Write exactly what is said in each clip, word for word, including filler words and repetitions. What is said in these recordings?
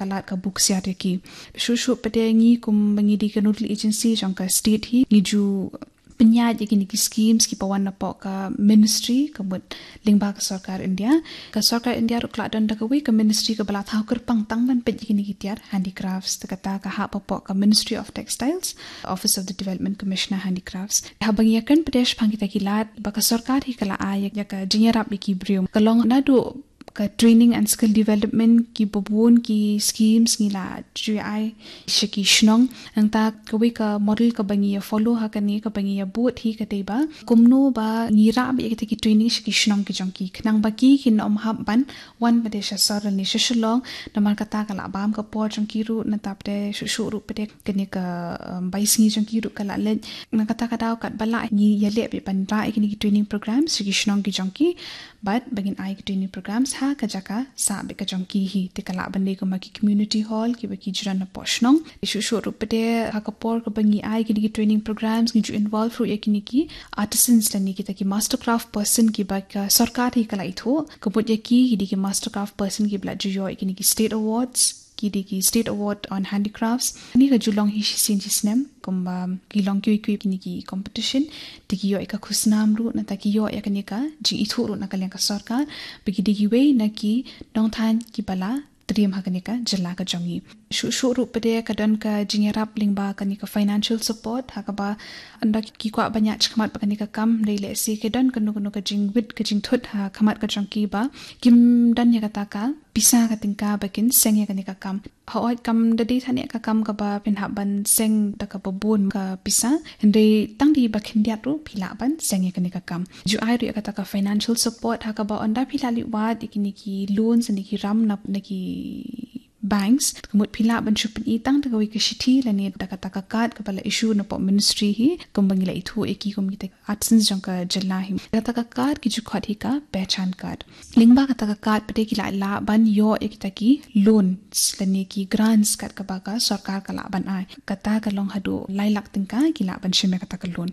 ka lad ka buh ksiar ïa ki. Shuh shuh pat de ngi kum ba ngi dei ka nodal agency jong ka state hi, ngi ju pynïaid ïa kine ki schemes kiba wan napoh ka ministry, ka mut lyngba ka sorkar India. Ka sorkar India ruh ka la don da kawei ka ministry kaba la thaw kyrpang tang ban peit ïa kine ki tiar handicrafts, te kata ka hap hapoh ka Ministry of Textiles, Office of the Development Commissioner Handicrafts. Haba ngi ïakren pat de shaphang kita ki lad ba ka sorkar hi ka la ai ïa ka jingïarap ïa ki briew, ka long naduh ka training and skill development, kiba bun ki schemes ngi la ju ai sha ki shnong. Nangta kawei ka model kaba ngi ïa follow ha kane, kaba ngi ïa bud hi ka dei ba kumno ba ngi rah beit ïa kita ki training sha ki shnong ki jong ki, khnang ba ki kin ym hap ban wan pat de sha sor lane sha Shillong, namar kata ka la bam ka por jong ki ruh, nangta pat de shuh shuh ruh pat de kane ka, um, bai sngi jong ki ruh ka la leit. Na kata ka daw katba lah ngi ïaleh beit ban rah ïa kine ki training programs sha ki shnong ki jong ki, bad ba ngin ai ki training programs ha ka jaka sah beit ka jong ki hi, te ka lah ban dei kumba ki community hall kiba ki ju don napoh shnong. Shuh shuh ruh pat de ha ka por kaba ngi ai kine ki training programs ngi ju involve ruh ïa kine ki artisans lane kita ki mastercraft person kiba ka sorkar hi ka la ithuh. Ka mut ïa ki, ki dei ki mastercraft person kiba la ju ïoh ïa kine ki state awards, ki dei ki State Award on Handicrafts. Kane ka ju long hi shisien shisnem, kumba ki long kiwei kiwei kine ki competition, te ki ïoh ïa ka khusnam ruh, nangta ki ïoh ïa kane ka jingithuh ruh na ka liang ka sorkar ba ki dei kiwei na ki nongthaiñ kiba la triem ha kane ka jylla ka jong ngi. Shuh shuh ruh pat de ka don ka jingïarap lyngba kane ka financial support, ha kaba ynda ki kwah ban ïaid shakhmat bad kane ka kam, hynrei lehse ka don kano kano ka jingwit ka jingthut ha khmat ka jong ki ba kim don ïa kata ka pisa ka tyngka ba kin seng ïa kane ka kam. Hooid, kam da dei than ïa ka kam kaba phin hap ban seng da kaba bun ka pisa, hynrei tang dei ba khyndiat ruh phi lah ban seng ïa kane ka kam. Ju ai ruh ïa kata ka financial support, ha kaba ynda phi la leit wad ïa kine ki loans ne ki ram na, na ki banks, ka mut phi lah ban shu pyni tang da kawei ka shithi lane da kata ka card kaba la issue napoh ministry hi, kumba ngi la ithuh ïa ki kum kita artisans jong ka jylla hi. Kata ka card ki ju khot hi ka pehchan card. Lyngba kata ka card pat de ki lah, lah ban ïoh ïa kita ki loans lane ki grants kat kaba ka sorkar ka lah ban ai. Kata ka long haduh lai lak tyngka ki lah ban shim ïa kata ka loan.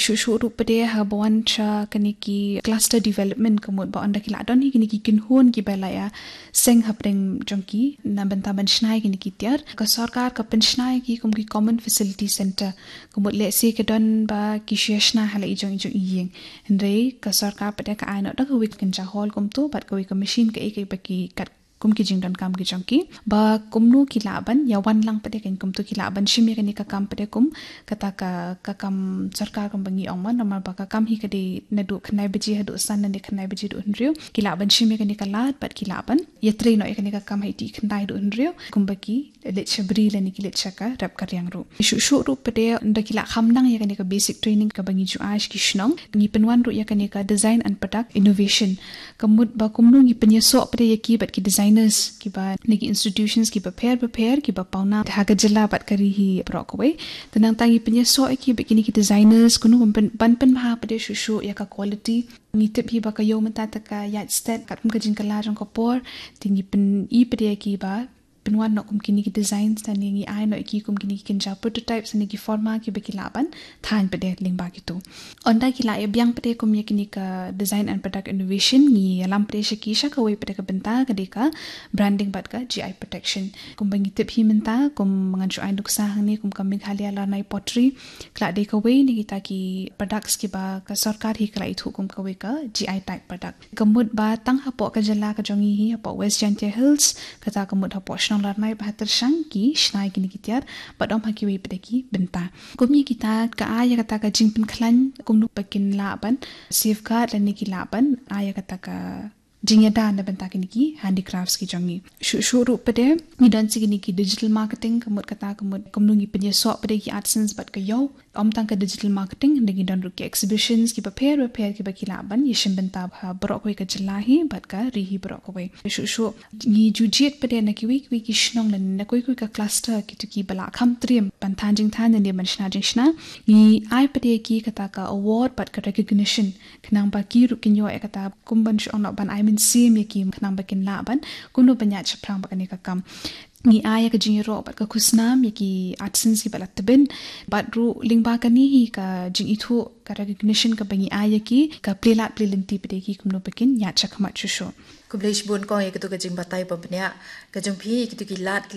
Shuh shuh ruh pat de haba wan sha kine ki cluster development, ka mut ba ynda ki lah don hi kine ki kynhun kiba la ïa seng hapdeng jong ki na bynta ban shna ïa kine ki tiar, ka sorkar ka pynshna ïa ki kum ki common facility center. Ka mut lehse ka don ba ki shu ïa shna ha la i jong i jong i ïing, hynrei ka sorkar pat de ka ai noh da kawei ka kynja hall kumto bad kawei ka machine kaei kaei ba ki kat kum ki jingdonkam ki jong ki, ba kumno ki lah ban ïa wan lang pat de, kan kumto ki lah ban shim ïa kane ka kam pat de kum kata ka, ka kam sorkar kumba ngi ong mo, namar ba ka kam hi ka dei naduh khyndai baje haduh san lane khyndai baje haduh hynriew. Ki lah ban shim ïa kane ka lad bad ki lah ban ïatrei noh ïa kane ka kam ha i tih khyndai haduh hynriew, kumba ki leit sha bri lane ki leit sha ka rep ka riang ruh. Shuh shuh ruh pat de ynda ki lah kham nang ïa kane ka basic training kaba ngi ju ai sha ki shnong, ngi pynwan ruh ïa kane ka design and product innovation. Ka mut ba kumno ngi pynïasoh pat de ïa ki bad ki designers kiba na ki institutions kiba pher bapher kiba pawnam ha ka jylla bad ka ri hi baroh kawei. Te nangta ngi pynïasoh ïa ki bad kine ki designers kumno ban pyn, ban pynbha pat de shuh shuh ïa ka quality. Ngi tip hi ba ka ïew mynta te ka ïaid stet katkum ka jingkylla jong ka por. Te ngi pyni pat de ïa ki ba pynwan noh kum kine ki designs, lane ngi ai noh ïa ki kum kine ki kynja prototypes lane ki forma kiba ki lah ban thaiñ pat de lyngba kito. Ynda ki lah ïa biang pat de kum ïa kine ka design and product innovation, ngi ïalam pat de sha ki sha kawei pat de ka bynta, ka dei ka branding bad ka G I protection. Kumba ngi tip hi mynta, kum ngan shu ai nuksa hangne, kum ka Meghalaya Larnai Pottery ka la dei kawei na kita ki products kiba ka sorkar hi ka la ithuh kum kawei ka G I tag product. Ka mut ba tang hapoh ka jylla ka jong ngi hi, hapoh West Jaintia Hills, kata ka mut hapoh shnong Larnai bad ha Tyrshang ki shna ïa kine ki tiar, bad ym ha kiwei pat de ki bynta. Kum ïa kita ka ai ïa kata ka jingpynkhlaiñ kumno ba kin lah ban safeguard lane ki lah ban ai ïa kata ka jingïada na bynta kine ki handicrafts ki jong ngi. Shuh shuh ruh pat de ngi don sa kine ki digital marketing, ka mut kata ka mut kumno ngi pynïasoh pat de ki artisans bad ka ïew. Ym tang ka digital marketing, hynrei ngi don ruh ki exhibitions kiba pher bapher kiba ki lah ban ïashim bynta ha baroh kawei ka jylla hi bad ka ri hi baroh kawei. Shuh shuh ngi ju jied pat de na kiwei kiwei ki shnong lane na kawei kawei ka cluster, kito kiba lah kham triem ban thaiñ jingthaiñ lane ban shna jingshna, ngi ai pat de ïa ki kata ka award bad ka recognition, khnang ba ki ruh kin ïoh ïa kata kum ban shu ong noh ban ai mynsiem ïa ki, khnang ba kin lah ban kumno ban ïaid shaphrang bad kane ka kam. ngi ai ïa ka jingïaroh bad ka khusnam ïa ki artisans kiba la tbit, bad ruh lyngba kane hi ka jingithuh, ka recognition kaba ngi ai ïa ki, ka plie lad plie lynti pat ïa ki kumno ba kin ïaid shakhmat shuh shuh. Khublei shibun kong ïa kito ka jingbatai ba bniah ka jong phi ïa kito ki lad ki